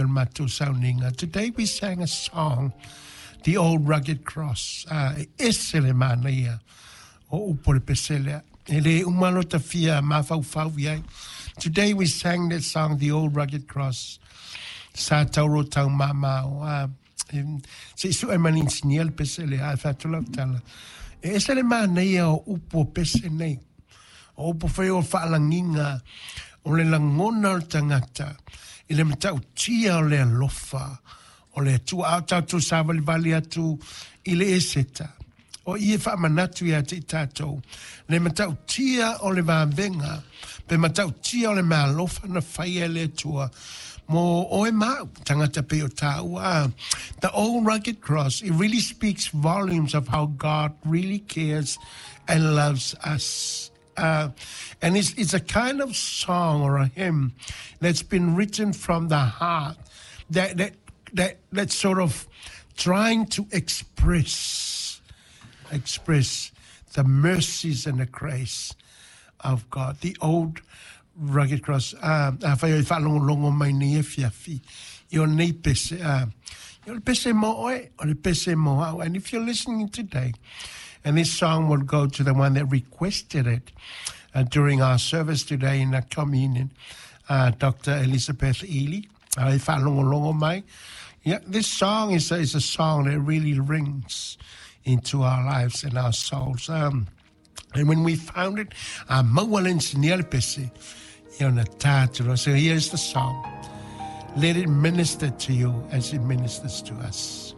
taimi o le matou sauniga. Today we sang a song, The Old Rugged Cross. Uh, e ese le manaia o upu o le pese lea. E le uma lo ta fia mafaufau i ai. Today we sang that song, The Old Rugged Cross. Sa tauro tau mamao. Uh, se i sue mani insinia le pese lea, ae fai atu lau tala. E ese le manaia o upu o pese nei. O upu foi o faalagiga o le lagona o le tagata i le matautia o le alofa o le Atua. A o tatou savalivali atu i le Eseta, o i e faamanatu ia te i tatou le matautia o le vavega pe matautia o le meaalofa na faia e le Atua mo oe ma au, tagata pei o tāua. The Old Rugged Cross, it really speaks volumes of how God really cares and loves us. Uh, and it's, it's a kind of song or a hymn that's been written from the heart that, that, that, that's sort of trying to express, express the mercies and the grace of God. The old rugged cross. Uh, afai o i whaalongolongo mai nei e fiafi. I o nei pese. Uh, i o le pese mo oe, o le pese mo au. And if you're listening today, and this song will go to the one that requested it uh, during our service today in the communion, uh, Dr. Elizabeth Ely. I whaalongolongo mai. Yeah, this song is a, is a song that really rings into our lives and our souls. Um, and when we found it, uh, So here's the song. Let it minister to you as it ministers to us.